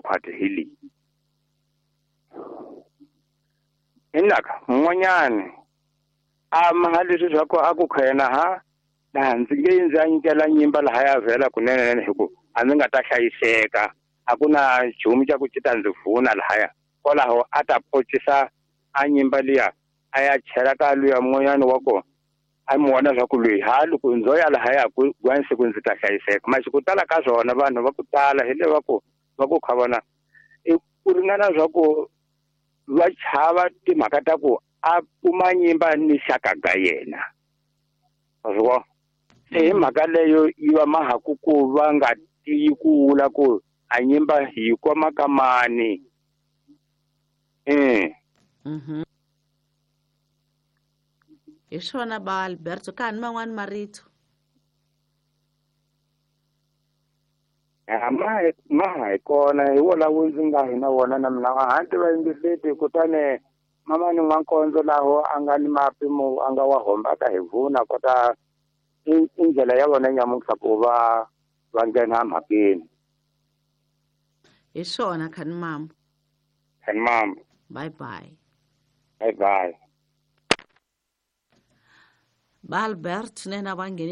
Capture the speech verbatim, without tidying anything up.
khwati hi leyi inaka mun'wanyani a maha leswi swa ku a ku khena ha laha ndzi nge ndzi a nyikela nyimba laha ya vhela kunene hi ku a ndzi nga ta hlayiseka a ku na nchumu xa ku ci ta ndzi vuna lahaya kwalaho a ta pocisa a nyimba liya a ya chela ka luya mun'wanyani wa kona a mi vona swa ku loyi ha loko ndzo ya lahaya ku siku ndzi ta hlayiseka masi ku tala ka swona vanhu va ku tala hi le va ku va ku kha vona i ku ringana swa ku va chava timhaka ta ku a kuma nyimba ni xaka ga yena wa swi vona se hi mhaka leyo yi va mahaku ku va nga tiyi ku vula ku a nyimba hi koma ka mani eh mhm hi swona ba Alberto ka ni man'wani marito ma ma hi kona hi wona wu ndzi nga hi na wona na mina a hanti va yingiseti kutani mama ni n'wankondzo laho a nga ni mapimo a nga wa hombaka hi vuna kota i ndlela ya vona nyamuntlha ku va va nghena mhakeni hi swona khani mama khani mama bye bye bye bye ba Albert nena va ngheni.